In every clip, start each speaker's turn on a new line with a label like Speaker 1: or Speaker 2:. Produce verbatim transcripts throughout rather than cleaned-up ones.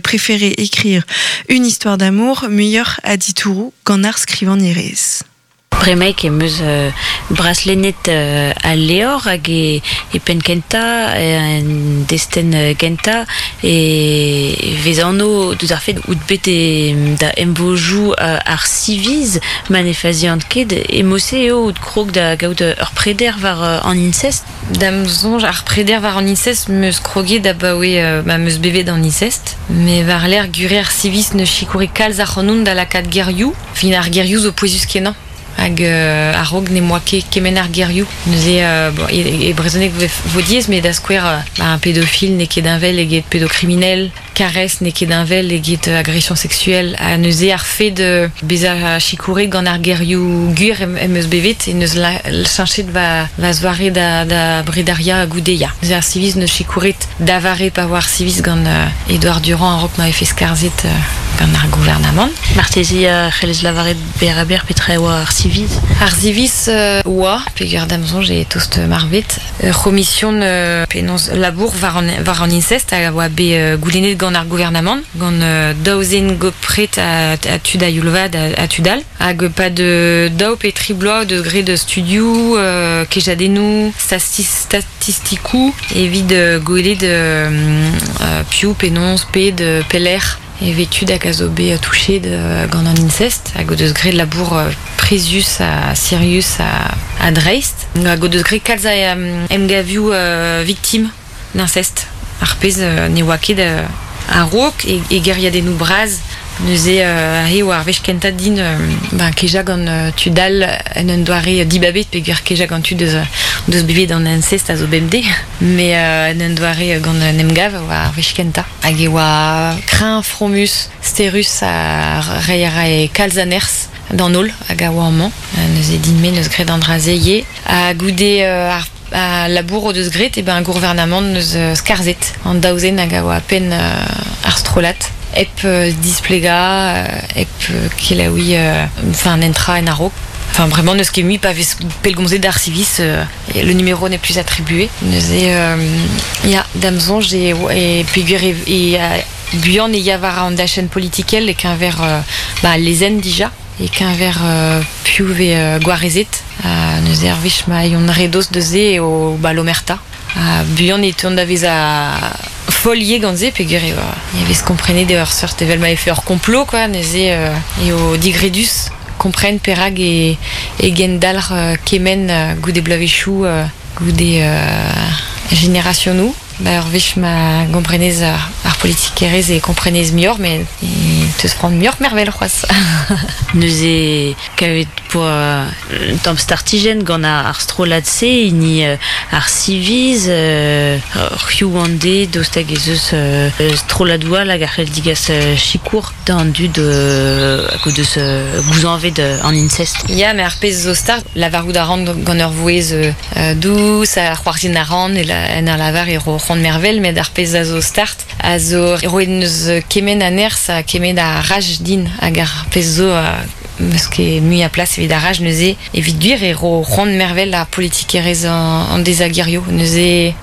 Speaker 1: préféré écrire une histoire d'amour, muioc'h a ditouroù gant ar skrivagnerez.
Speaker 2: Bremaik em eus euh, braslennet euh, al levr hag e, e penn kentañ, en destenn gentañ e vez anv deus ar fed out bet e, da emvojoù euh, ar siviz ma ne fazian ket e mod-se eo out krog da gaout ur preder war euh, an incest.
Speaker 3: D'am soñj ar preder war an incest 'm eus kroget abaoe euh, ma 'm eus bevet an incest. Met war-lerc'h gure ar siviz 'neus sikouret kalz ac'hanon da lakaat gerioù, fin ar gerioù zo pouezus-kenañ. Hag euh, a-raok n'em boa ket kement ar gerioù. Neuze euh, bon, e, e brezhoneg vo diaes, met da skouer euh, bah, un pédophile n'eo ket heñvel eget pédocriminel, caresse n'eo ket heñvel eget agression sexuelle. Ha neuze ar fed euh, bezañ sikouret gant ar gerioù gwir em, em eus bevet e neus la, cheñchet va, va zoare da, da brederiañ goude ya. Neuze ar siviz 'neus sikouret da vare pa oa ar siviz gant euh, Edouard Durand a-raok ma vefe skarzhet euh, gant ar gouarnamant.
Speaker 2: Marteze a c'hellez lavaret berr-ha-berr petra e oa ar siviz?
Speaker 3: Ar siviz euh, oa, peogwir d'am soñj eo tost marvet. Ur c'homision euh, penaos labour war an, war an incest a oa bet euh, goulennet gant ar gouarnamant, gant euh, daou zen gopret a, a tud a youl vat a, a tud all. Hag pad euh, daou pe tri bloaz deus graet studioù, euh, kejadennoù, statistikoù, evit euh, gwelet euh, euh, piv, penaos, pet, pelec'h e vez tud hag a zo bet touchet euh, gant an incest, hag o deus graet labour euh, prizius ha sirius ha, ha dreist. Hag o deus graet kalz a euh, emgavioù euh, victime d'inceste. Ar pezh euh, ne oa ket euh, a-raok e, e gêriadennoù bras. Neuze euh, aze oa ar wech kentañ din euh, ben, kejañ gant euh, tud all en un doare dibabet peogwir kejañ gant tud deus, deus bevet an incest a zo bemdez. Met euh, en un doare gant un emgav oa ar wech kentañ. Hag e oa kreñv, fromus, sterus ha reiñ a rae kalz a nerzh d'an holl hag a oa amañ. Neuze din-me 'neus graet an dra-se ivez. Ha goude euh, ar a labour o deus graet e ben gouarnamant 'neus skarzhet an daou zen hag a oa penn euh, ar strollad. Hep euh, displegañ, hep euh, kelaouiñ euh, enfin un entra en a-raok. Enfin vraiment n'eus ket mui pa vez pellgomzet d'ar siviz euh, le numéro n'est plus attribué. Neuze euh, ya d'am soñj e, e peogwir e, e buan e ya war an dachenn politikel e-keñver euh, ba, lezenn dija e-keñver euh, piv vez euh, gwarezet. Uh, neuze ar wech ma yon redos deus se eo ba l'omerta. Uh, buan e teuont da vezañ foll ivez gant se peogwir e, e vez komprenet eo ur seurt evel ma vefe ur complot quoi, neuze euh, eo digredus kompren perak e, e gendalc'h euh, kement euh, goude bloavezhioù euh, goude euh, generasionoù. Ba ur wech ma gomprenez ar, ar politikerezh e komprenez muioc'h, met e teus c'hoant muioc'h mervel c'hoazh.
Speaker 2: Neuze kavet poa un tamm startijenn gant ar, ar strollad-se, hini euh, ar siviz, euh, c'hiv an de, daoust hag ez eus euh, strolladoù all hag a c'hell digas euh, sikour d'an dud euh, hag o deus euh, gouzañvet euh, an incest.
Speaker 3: Ya, met ar pezh zo start, lavarout a ran gant ur vouezh euh, dous, ar c'hoarzhin a ran, e la, en ar lavar e ro c'hoant mervel, met ar pezh a zo start, a zo roet neus kement a nerzh ha kement a raj din hag ar pezh zo euh, 'meus ket mui a plas evit ar raj neuze evit gwir e ro c'hoant mervel ar politikerezh an, an dezagerioù. Neuze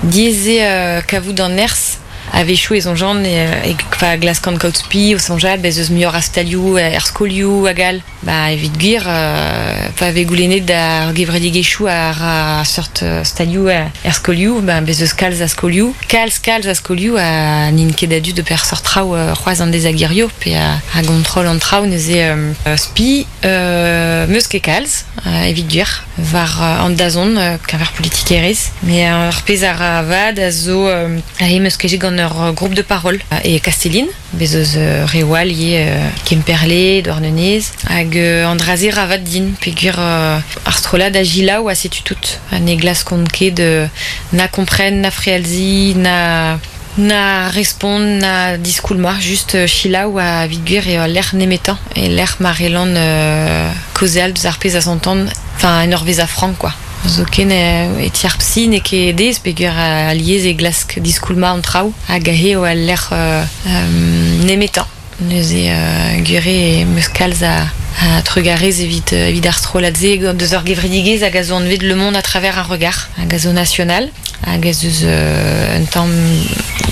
Speaker 3: diaes eo euh, kavout an nerzh a-wechoù e soñjan e, e pa glaskan kaout spi o soñjal bez eus muioc'h a stalioù er skolioù hag all. Ba evit gwir euh, pa vez goulennet d'ar gevredigezhioù ar a seurt stalioù er skolioù, ba bez eus kalz a skolioù. Kalz kalz a skolioù a n'int ket a-du d'ober seurt traoù euh, c'hoazh an dezagerioù pe a, a gontrol an traoù neuze euh, spi euh, 'meus ket kalz euh, evit gwir war euh, an dazont euh, keñver politikerezh. Met ar pezh a ra vad a zo euh, aze 'meus kejet gant ur groupe de parole e Kastellin, bez eus euh, reoù all ivez euh, Kemperle, Douarnenez, hag euh, an dra-se ra vad din, peogwir euh, ar strollad a selaou ha setu tout. Ha ne glaskont ket euh, na kompren, na frealziñ, na na respont, na diskoulmañ, just euh, selaou ha evit gwir eo al lec'h nemetañ, e lec'h ma c'hellan euh, kaozeal deus ar pezh a santan, enfin en ur vezañ frank quoi. Zoken e ti ar psy n'eo ket aes peogwir alies e glask diskoulmañ an traoù hag aze eo al lec'h euh, euh, nemetañ. Neuze euh, gwir eo 'meus kalz a, a trugarez evit, evit ar strollad-se gant deus ur gevredigezh hag a zo anvet Le Monde à travers un regard hag a zo national hag ez eus euh, un tamm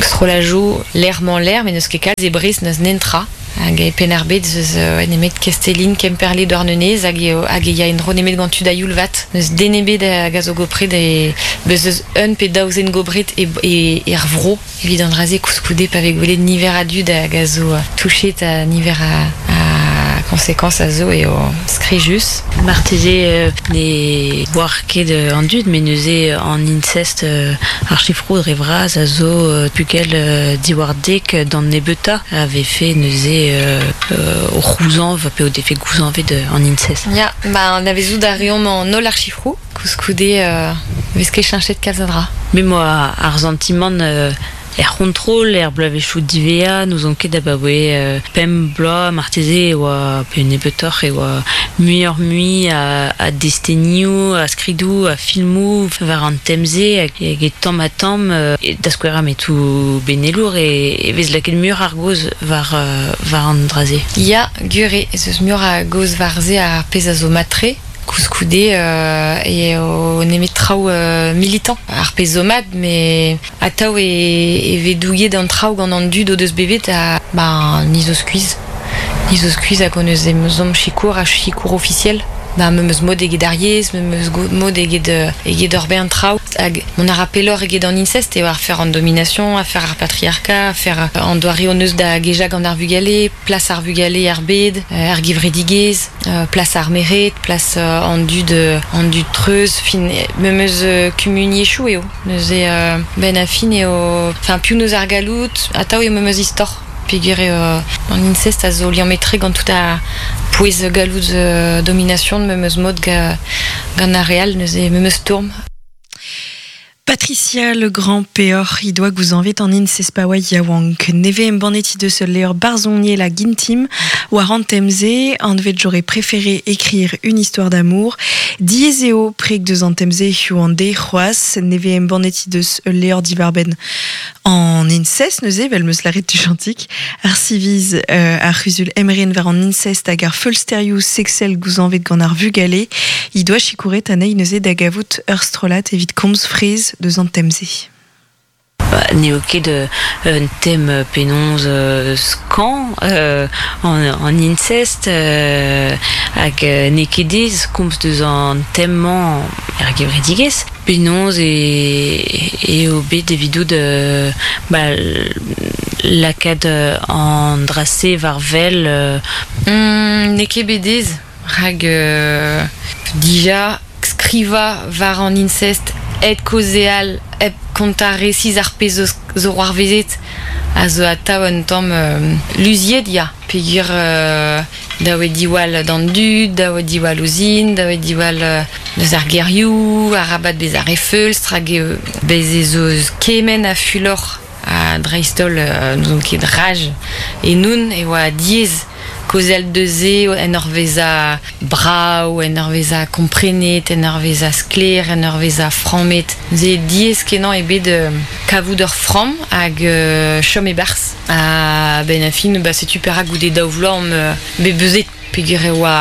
Speaker 3: Strolajou l'air-man l'air, mais neus ket kalz e Brest neus nentra. Hag e Penn-ar-Bed zeus euh, nemet Kestelin, Kemperle, Douarnenez, hag e, hag e ya en-dro nemet gant tud a youl vat. Neus den ebet hag a zo gopret e beus eus un pe daou zen gopret e, e, er vro. Evit an draze koulskoude pa vez gwelet niver a dud hag a zo touchet a niver a, a conséquence a zo eo skrijus.
Speaker 2: Marteze euh, ne oar ket an dud, met neuze an incest euh, ar chifrou dre vras a zo euh, pugel euh, diwar dek d'an nebeuta avait fait neuze euh, euh, o c'houzanv pe o defe gouzanvet an incest.
Speaker 3: Ya, ba an avezou da reomp an holl ar chifrou, koulskoude euh, vez ket cheñchet kalz a dra.
Speaker 2: Mais moi ar sentiment euh, er c'hontrol, er bloavezhioù divea, n'ouzon ket abaoe euh, pemp bloaz marteze e oa pe nebeutoc'h e oa muioc'h mui a, a destenioù, a skridoù, a filmoù war an temze hag e tamm ha tamm euh, e da skouer metoù benelour e, e vez lakaet muioc'h ar gaoz war, euh, war an draze.
Speaker 3: Ya, gwir ez eus muioc'h a gaoz war se ar pezh a zo matre. Koulskoude euh, e o nemet traoù euh, militant. Ar pezh zo mat, met atav e, e vez douget an traoù gant an dud o deus bevet a ba, ni zo skuizh. Ni zo skuizh hag hon eus ezhomm sikour ha sikour ofisiel. Ba, memes mod eget ar yezh, memes mod eget, eget ur bern traoù. Hag mon a ra pelloc'h eget an incest eo ar fer an domination, afer ar patriarcat, afer an doare hon eus da gejañ gant ar vugale, plas ar vugale ar bed, ar gevredigezh, plas ar merc'hed, plas an dud, an dud treuz, fin, memes kumuniezhioù eo. Neuze ben a fin eo, enfin, piv neus ar galloud, atav eo memes istor. Peogwir eo an incest a zo liammet-tre gant tout ar pouez galloud euh, domination memes mod ga, gant ar real, neuze memes tourm.
Speaker 1: Patricia Legrand peoc'h he doa gouzañvet an incest pa oa yaouank. Neve embannet he deus ul levr barzhoniel hag intim war an tem-se, anvet j'aurais préféré écrire une histoire d'amour. Diaes eo preg deus an tem-se hiziv an deiz c'hoazh, neve embannet he deus ul levr diwar-benn an incest neuze, vel meus lâret tuchantik, ar siviz euh, ar c'huzul emren war an incest hag ar feulsterioù sexel gouzañvet gant ar vugale, he doa sikouret anezhi neuze da gavout ur strollad evit komz fraezh deus an tem-se.
Speaker 2: Ba, n'eo ket un tem penaos euh, skañv euh, an, an incest euh, hag n'eo ket aes komz deus an tem-mañ er gevredigezh. Penaos e, eo bet evidout euh, ba, lakaat an dra-se war wel euh...
Speaker 3: Mm, n'eo ket bet aes, rak euh, dija skrivañ war an incest hep kaozeal, hep kontañ resis ar pezh zo, zo c'hoarvezet a zo atav un tamm euh, luziet ya. Peogwir euh, dav eo diwall d'an dud, dav eo diwall ouzhin, dav eo diwall euh, deus ar gerioù, arabat bezañ re feulstr hag eo bez ez eus kement a fulor a dreist-holl euh, n'ouzon ket raj e noun e oa diaes kaozeal deus se en ur vezañ brav, en ur vezañ komprenet, en ur vezañ sklaer, en ur vezañ frammet. Neuze diaes kenañ eo bet euh, kavout ur framm hag euh, chom e-barzh. Ha ben a fin, ba, setu perak goude daou vloaz omp euh, bet beuzet peogwir e oa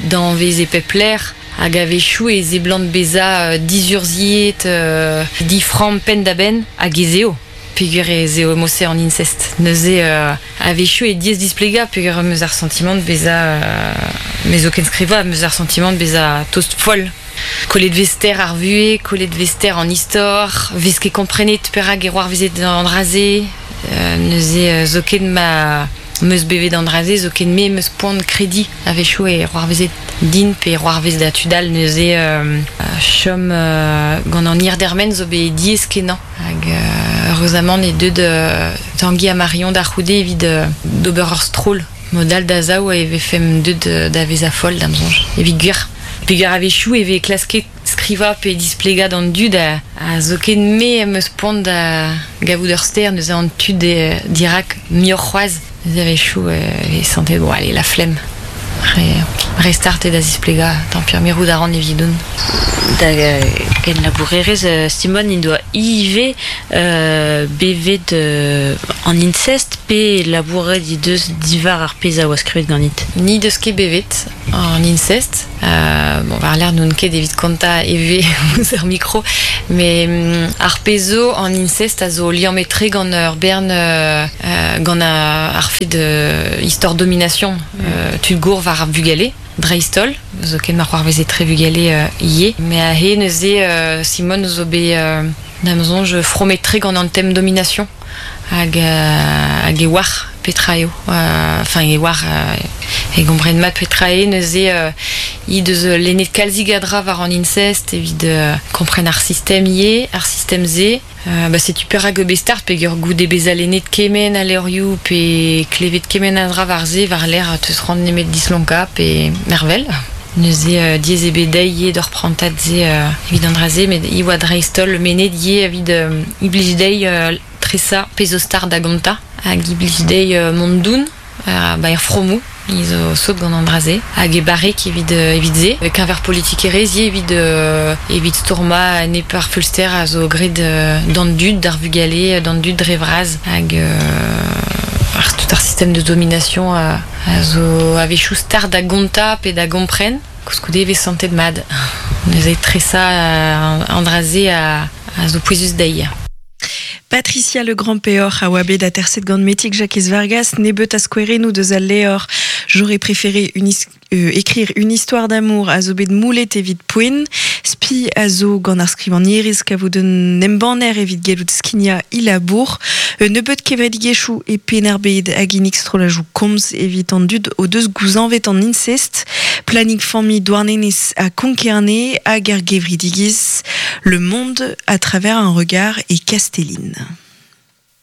Speaker 3: danvez e pep lec'h hag a-wechoù e seblant bezañ euh, dizurzhiet, euh, diframm penn-da-benn hag ez eo. Peogwir ez eo mod-se an incest. Neuze euh, a-wechoù e diaes displegañ peogwir em eus ar sentiment bezañ euh, me zo ken skrivañ, em eus ar sentiment bezañ tost foll. Kollet vez ster ar vuhez, kollet vez ster an istor, vez ket komprenet perak e c'hoarvezet an dra-se, euh, neuze euh, zoken ma meus bevet an dra-se, zoken me meus poan krediñ a-wechoù e c'hoarvezet din pe c'hoarvez da tud all neuze euh, chom euh, gant an hir-dermen zo bet diaes kenañ. Hag euh, heureusement eo deuet euh, Tangi ha Marion da c'houde evit euh, d'ober ur stroll. Mod all da zaou e vefemp deuet euh, da vezañ foll d'am soñj. Evit gwir. Peogwir a-wechoù e vez klasket skrivañ pe displegañ d'an dud a, a zoken me em eus poan da gavout ur ster neuze an tud e, dirak muioc'h c'hoazh. Neuze a-wechoù euh, e santet bon allez la flemme. Re, re start eo da zisplegañ, tant pis mirout a ran evidon.
Speaker 2: Da Ken labourerez euh, Simone in doa ive euh, bevet euh, an incest pe labouret di deus divar ar pez a oa skrivet ganit.
Speaker 3: Ni deus ket bevet an incest. Euh, bon, war l'air n'on ket evit konta eve ouz ar micro, mais mm, ar pezo an incest a zo liammetre gant ur bern euh, gant ar fet de histoire domination euh, tud gour war ar vugale dreistol, zo ken mar c'hoar veze tre vugale euh, ie. Mais a he neuze euh, Simone zo bet euh, da'm soñj fromet-tre gant an tem domination hag, euh, hag e war petra eo. Enfin e war euh, e gompren mat petra eo neuze euh, i deus lennet kalzig a dra war an incest evit euh, kompren ar sistem ie, ar sistem ze. Euh, ba setu perak eo bet start pe ur goude beza lennet kemen a levrioù pe klevet kemen a dra war ze war l'air teus ran nemet dislonka pe mervel. Neuze euh, diez e bet dezhi eo d'ur prantad ze euh, evit an dra ze, met i oa dreist-holl menet ie evit euh, i blij dezhi euh, tresa pezo star da gonta hag i blij dezhi euh, mont doun euh, ba er fromou i zo sot gant an dra ze hag e barrek evit, euh, evit ze keñver politikerezh ivez evit, euh, evit stourma enep ar feulster a zo graet euh, d'an dud d'ar vugale d'an dud dre vras hag euh, ar tout ar système de domination a, a zo a-wechoù start da gonta pe da gompren koulskoude e vez santet mat. Neuze tresa euh, an dra ze a, a zo pouezus dezhi.
Speaker 1: Patricia Le Grand Peoc'h a oa bet aterset gant Metig Jakez Vargas, nebeut a skouerennoù deus al levr. J'aurais préféré une euh, écrire une histoire d'amour a zo bet moulet evit poent, spi a zo gant ar skrivagnerez kavout un embanner evit gellout skignañ he labour, euh, nebeut kevredigezhioù e Penn-ar-Bed a ginnig strollajoù komz evit an dud o deus gouzañvet an incest, Planning Familh Douarnenez ha Konk-Kerne hag ar gevredigezh Le Monde à travers un regard e Kastellin.